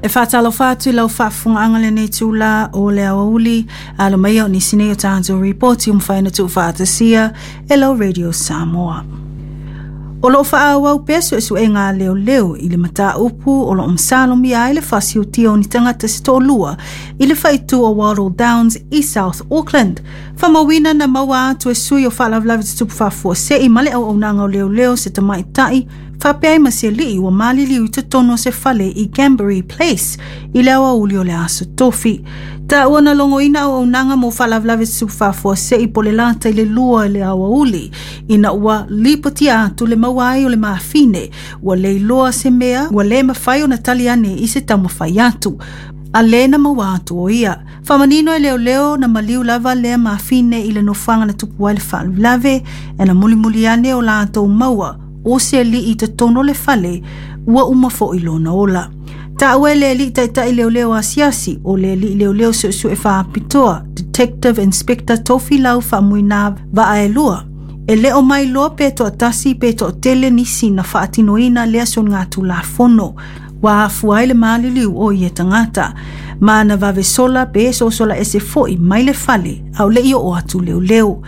E faatalofa atu i lau faafofogaaga i lenei itula o le aoauli, alo mai o nisi nei o tatou ripoti ua mafai ona tuufaatasia e lau Radio Samoa. O lo o faaauau pea suesuega a leoleo i le mataupu o lo o masalomia ai le fasiutia o ni tagata se toalua i le faaitu o Wattle Downs i South Auckland. Faamauina na maua atu e sui o faalavelave tutupu faafuasei ma le auaunaga o leoleo se tamaitai faapea ai ma se alii ua maliliu i totonu o se fale i Gambury Place i le aoauli o le Aso Tofi. Taua na logoina auaunaga mo faalavelave tutupu faafuasei po o le lata i le 2 i le aoauli ina ua lipotia atu le maua ai o le mafine ua le iloa se mea ua le mafai ona tali ane i se taumafai atu a lē na maua atu o ia. Faamanino e leoleo na maliu lava lea mafine i le nofoaga na tupu ai le faalavelave e na mulimuli ane o latou maua o se alii i totonu o le fale ua uma foi lona ola. Taua e le alii taitai leoleo asiasi o le alii leoleo suesue faapitoa Detective Inspector Tofilau Faamuina Vaaelua e le o mailoa pe toatasi pe toatele nisi na faatinoina lea soligatulafono ua afua ai le maliliu o ia tagata ma na vave sola pe sosola ese foi mai le fale a o le i oo atu leoleo.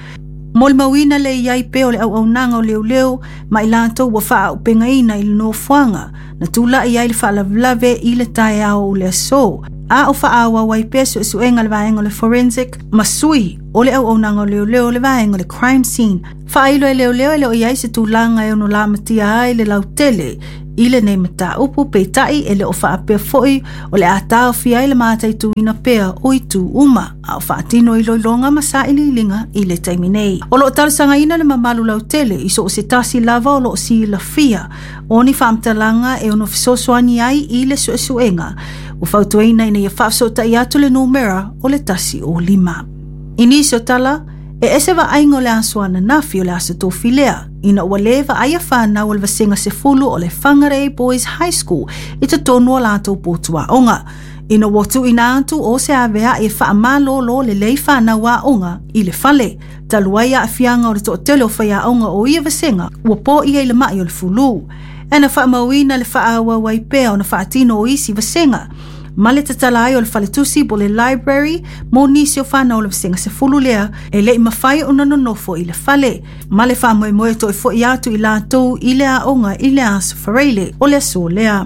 Molimauina le i ai pea o le auaunaga o leoleo ma i latou ua faaaupegaina i le nofoaga na tulai ai le faalavelave i le taeao o le aso a o faaauau ai pea suesuega le vaega o le forensic ma sui o le auaunaga o leoleo le vaega o le crime scene. Faailo e leoleo e le o i ai se tulaga e ono lamatia ai le lautele i lenei mataupu, peitai e le o faapea foi o le a taofia ai le mataituina pea o itu uma a o faatino iloiloga ma sailiiliga i le taimi nei. O lo o talosagaina le mamalu lautele i so o se tasi lava o lo o silafia o ni faamatalaga e ono fesoasoani ai i le suesuega ua fautuaina ina ia faafesootai atu le numera o le 105. I nisi o tala, e ese vaaiga o le aso ananafi o le Aso Tofi lea, ina ua lē vaaia fanau o le vasega 10 o le Whangarei Boys High School i totonu o latou potu aoga, ina ua tuuina atu o se avea'i e faamalōlō lelei fanau aoga i le fale, talu ai aafiaga o le toatele o faiaoga o ia vasega ua poia i le ma'i o le fulū. E na faamauina le faaauau ai pea ona faatino o isi vasega ma le tatala ai o le faletusi po o le library mo nisi o fanau o le vasega 10 lea e le i mafai ona nonofo i le fale ma le faamoemoe toe fo'i atu i latou i le aoga i le Aso Faraile o le aso lea.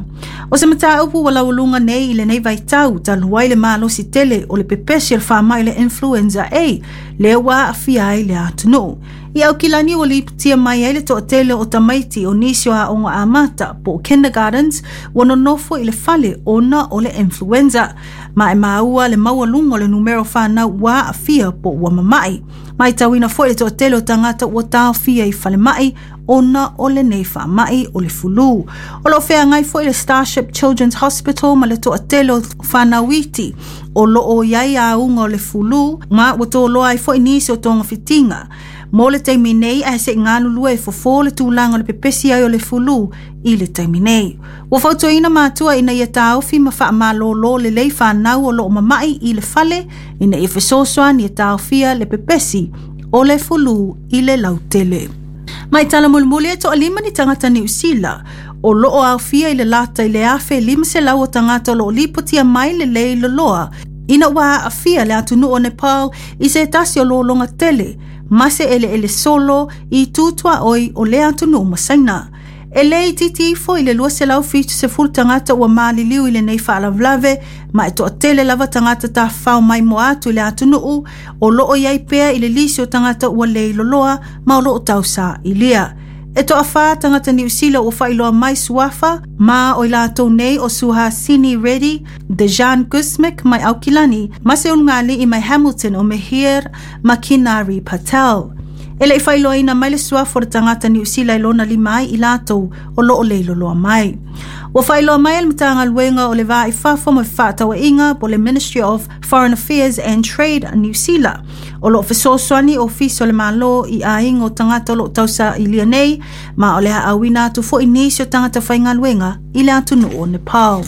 O se mataupu ua laualuga nei i lenei vaitau talu ai le malosi tele o le pepesi o le faamai o le influenza A lea ua aafia ai le atunuu. I Aukilani ua lipotia mai ai le toatele o tamaiti o nisi o aoga amata po o kindergartens ua nonofo i le fale ona o le influenza. Ma e maua le maualuga o le numera o fanau ua aafia po ua mama'i. Matauina foi le toatele o tagata ua taofia i falemai ona o lenei faamai o le fulū. O lo o feagai foi le Starship Children's Hospital ma le toatele o fanau iti o lo o i ai auga o le fulū ma ua toloa ai foi nisi o togafitiga. Mo le taimi nei ae se'i galulue e fofo le tulaga o le pepesi ai o le fulū i le taimi nei. Ua fautuaina matua ina ia taofi ma faamalōlō lelei fanau o lo o mama'i i le fale ina ia fesoasoani e taofia le pepesi o le fulū i le lautele. Mai tala mulimuli e toalima ni tagata Niu Sila o lo o aofia i le lata i le 1,500 o tagata o lo o lipotia mai le lei loloa ina ua aafia le atunuu o Nepal i se tasi o lologa tele ma se eleele solo i itu tuaoi o lea atunuu ma Saina. E le itiiti ifo i le 270 tagata ua maliliu i lenei faalavelave ma e toatele lava tagata tafafao maimoa atu i le atunuu o lo o i ai pea i le lisi o tagata ua le loloa ma o lo o tausailiia. E toafā tagata Niu Sila ua faailoa mai suafa ma o i latou nei o Suhasini Reddy, Dejan Gusmic mai Aukilani ma se ulugalii mai Hamilton o Mihir Makinari Patel. E le i faailoaina mai le suafa o le tagata Niu Sila i lona lima ai i latou o lo o leiloloa mai. Ua faailoa mai e le Matagaluega o le Va i Fafo ma Fefaatauaiga po o le Ministry of Foreign Affairs and Trade Niu Sila. O lo o fesoasoani Ofisa o le Malo i aiga o tagata o lo o tausailia nei ma o le haaauina atu foi nisi o tagata faigaluega i le atunuu o Nepal.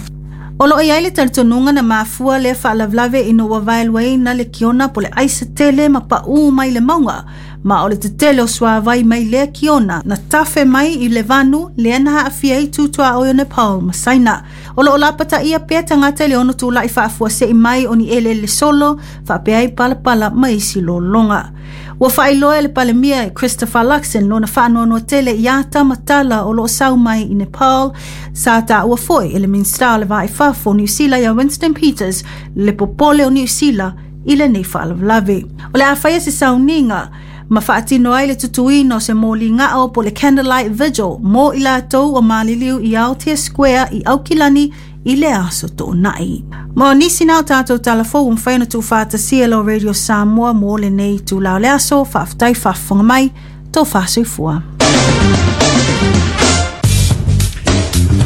O lo o i ai le talitonuga na mafua lea faalavelave ina ua vaeluaina le kiona po o le aisa tele ma paū mai le mauga Ma o le tetele o suāwai mai lea kiona na tafe mai i le vanu lea na aafia ai tu tuaoi o Nepal ma Saina. O loo lapataia pea tagata i le ono tula'i faafuase'i mai o ni eleele solo faapea ai palapala ma isi lologa. Ua faailoa e le Palemia e Christopher Luxon lona faanoanoa tele i ata ma tala o loo sau mai i Nepal. Sa taua foi e le Minisita o le Va i Fafo o Niu Sila ia Winston Peters le popole o Niu Sila i lenei faalavelave. O le a faia se sauniga ma faatino ai le tutuina o se moli gao po o le candlelight vigil mo i latou ua maliliu i Aotea Square i Aukilani i le aso Toonai. Ma o nisi na o tatou talafou ua mafai ona tuufaatasia e lau Radio Samoa mo lenei itula o le aso. Faafetai faafofoga mai, tofa soifua.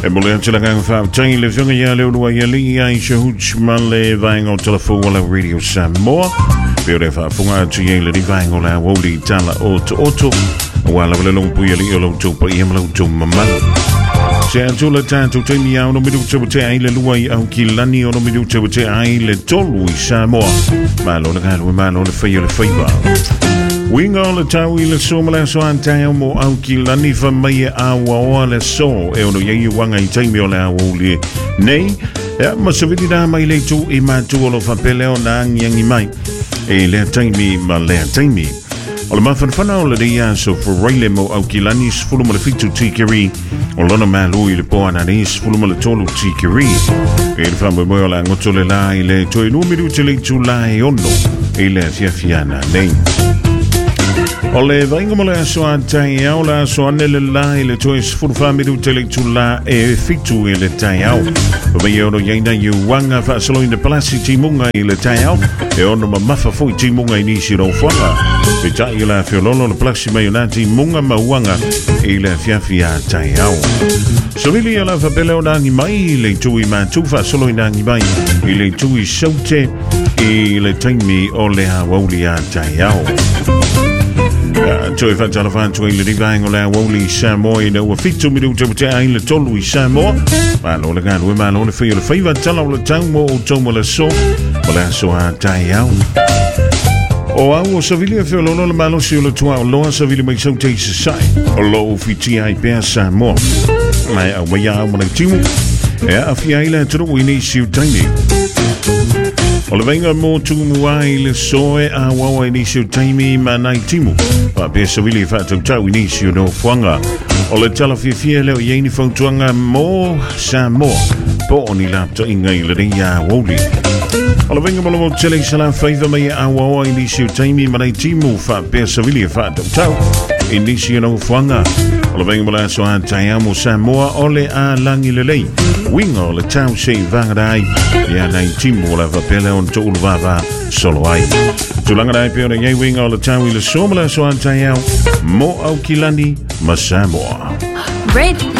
E mole atu le agaga faafetai i le Afioga ia Leuluaialii Aisha Hooch ma le vaega o Talafou o la Radio Samoa. Pe o le faafofoga atu i ai le vaega o le aoauli i tala o Tooto. Aua lava le longopui alii o lo outou paia ma lo outou mamalu. Se atu le tatou taimi ia ono minuta ua tea ai le 2 i Aukilani, ono minuta ua tea ai le 3 i Samoa. Malo le galue, malo le fai o le faiva. Uiga o le tau i le aso ma le aso a taeao mo Aukilani fa mai e auaoa le aso e ono i ai uaga i taimi o le aoauli nei. Ea, ma savili rā mai le itu i mātua o lo whapele o nā angiangi mai e lea taimi ma lea taimi. O le mafanafana o lenei aso Faraile mo Aukilani 17 tikeri o lona malo i le po ananei 13 tikeri. E le faamoemoe o le agoto le la i le toe 2 minuti le itula e 6 i le afiafi ananei. O le vaaiga mo le aso a taeao, le aso ane le la i le toe 14 minute le itula e 7 i le taeao. Mai e ono i ai nai uaga faasoloina palasi timuga i le taeao, e ono mamafa foi timuga i nisi o nofoaga. Peitai i la feololo le palasi mai o nā timuga ma uaga i le afiafi a taeao. Savili e la whapele o nāngi mai i le itu i mātu faasolo i nāngi mai i le itu i saute i le taimi o le aoauli a taeao. Toe whaatalofa atu ai le rivaenga o le aoauli i Samoa ina ua 7 minuta ua tea ai le 3 i Samoa. Malo le galue, malo le fai o le faiva, tala o le tau mo outou mo le aso, mo le aso a taeao. O au o Savili e feololo le malosi o le tuaoloa Savili mai sau te i sasae. O loo fitia ai pea Samoa. Mai au mai au ma le timu. E aafia ai le atunuu i nisi o taimi. O le vaaiga mo Tumua i le soe a wawa i nisi o taimi ma nai timu. Faapea savili e faatautau i nisi o nofoaga. O le tala fiafia lea o i ai ni fautuaga mo Samoa po o ni laptoiga i lenei aoauli. O le vaaiga mo le motu i Salafaiva mai e auaoa i nisi o taimi ma nai timu faapea savili e faatautau i nisi o nofoaga. O le vaaiga mo le aso a taeao mo Samoa o le a lagi lelei. Uiga o le tau se i vagana ai ia nai timu o le faapea lea ona toulu vava solo ai. Tulaga la e pei ona i ai uiga o le tau i le aso ma le aso a taeao mo Aukilani ma Samoa. Radio.